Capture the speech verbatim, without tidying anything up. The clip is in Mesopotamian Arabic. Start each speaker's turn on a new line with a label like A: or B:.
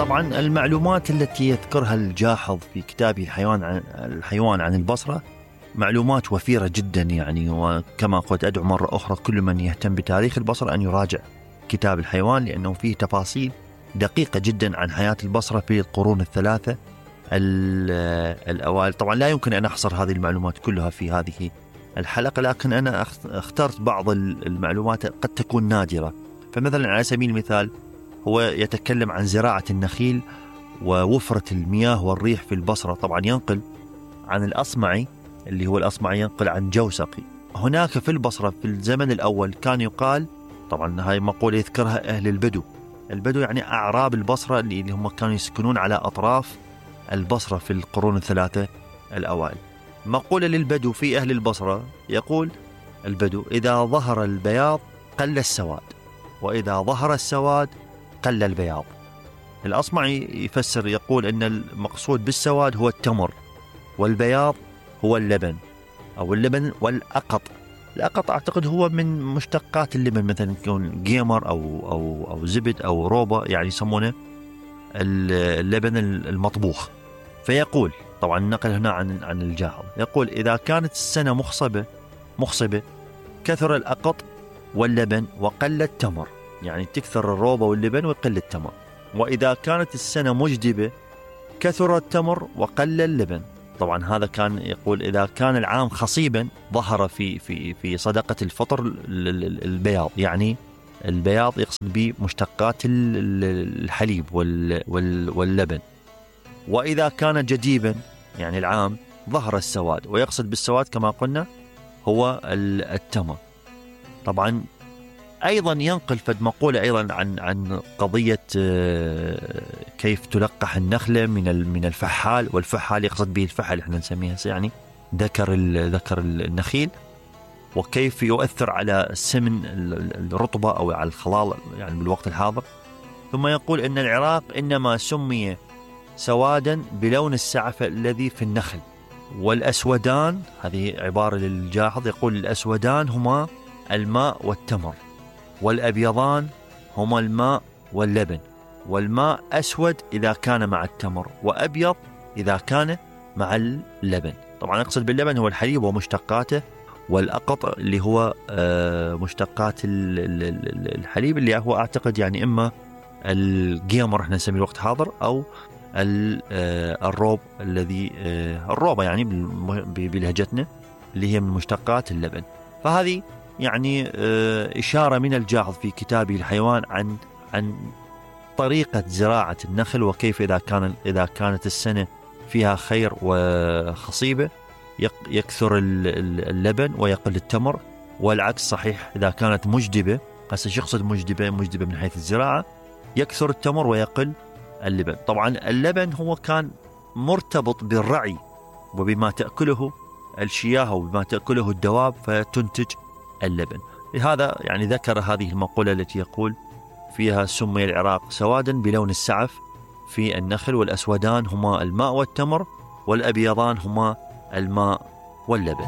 A: طبعا المعلومات التي يذكرها الجاحظ في كتابه الحيوان عن الحيوان عن البصرة معلومات وفيرة جدا يعني. وكما قلت أدعو مرة أخرى كل من يهتم بتاريخ البصرة أن يراجع كتاب الحيوان، لأنه فيه تفاصيل دقيقة جدا عن حياة البصرة في القرون الثلاثة الأوائل. طبعا لا يمكن أن أحصر هذه المعلومات كلها في هذه الحلقة، لكن أنا اخترت بعض المعلومات قد تكون نادرة. فمثلا على سبيل المثال هو يتكلم عن زراعة النخيل ووفرة المياه والريح في البصرة. طبعا ينقل عن الأصمعي اللي هو الأصمعي ينقل عن جوسقي. هناك في البصرة في الزمن الأول كان يقال، طبعا هاي مقولة يذكرها أهل البدو، البدو يعني أعراب البصرة اللي هم كانوا يسكنون على أطراف البصرة في القرون الثلاثة الأوائل. مقولة للبدو في أهل البصرة يقول البدو: إذا ظهر البياض قل السواد، وإذا ظهر السواد قل البياض. الأصمعي يفسر يقول أن المقصود بالسواد هو التمر، والبياض هو اللبن أو اللبن والأقط. الأقط أعتقد هو من مشتقات اللبن، مثلا يكون جيمر أو, أو, أو زبد أو روبا، يعني يسمونه اللبن المطبوخ. فيقول طبعا النقل هنا عن عن الجاحظ يقول: إذا كانت السنة مخصبة مخصبة كثر الأقط واللبن وقل التمر، يعني تكثر الروبة واللبن ويقل التمر. وإذا كانت السنة مجدبة كثر التمر وقل اللبن. طبعا هذا كان يقول إذا كان العام خصيبا ظهر في في في صدقة الفطر البياض، يعني البياض يقصد به مشتقات الحليب واللبن. وإذا كان جديبا يعني العام ظهر السواد، ويقصد بالسواد كما قلنا هو التمر. طبعا أيضا ينقل فد مقولة أيضا عن عن قضية كيف تلقح النخلة من من الفحال، والفحال يقصد به الفحل احنا نسميها يعني ذكر ذكر النخيل، وكيف يؤثر على سمن الرطبة أو على الخلال يعني بالوقت الحاضر. ثم يقول أن العراق إنما سمي سوادا بلون السعف الذي في النخل، والأسودان، هذه عبارة للجاحظ، يقول الأسودان هما الماء والتمر، والأبيضان هما الماء واللبن. والماء أسود إذا كان مع التمر، وأبيض إذا كان مع اللبن. طبعا يقصد باللبن هو الحليب ومشتقاته، والأقط اللي هو مشتقات الحليب اللي هو أعتقد يعني إما الجيمر احنا نسميه الوقت حاضر، أو الروب الذي الروبة يعني بلهجتنا اللي هي من مشتقات اللبن. فهذه يعني إشارة من الجاحظ في كتابه الحيوان عن عن طريقة زراعة النخل، وكيف إذا كان إذا كانت السنة فيها خير وخصيبة يكثر اللبن ويقل التمر، والعكس صحيح إذا كانت مجدبة. هسه يقصد مجدبة مجدبة من حيث الزراعة يكثر التمر ويقل اللبن. طبعا اللبن هو كان مرتبط بالرعي وبما تأكله الشياه وبما تأكله الدواب فتنتج اللبن. لهذا يعني ذكر هذه المقولة التي يقول فيها سمي العراق سوادا بلون السعف في النخل، والأسودان هما الماء والتمر، والأبيضان هما الماء واللبن.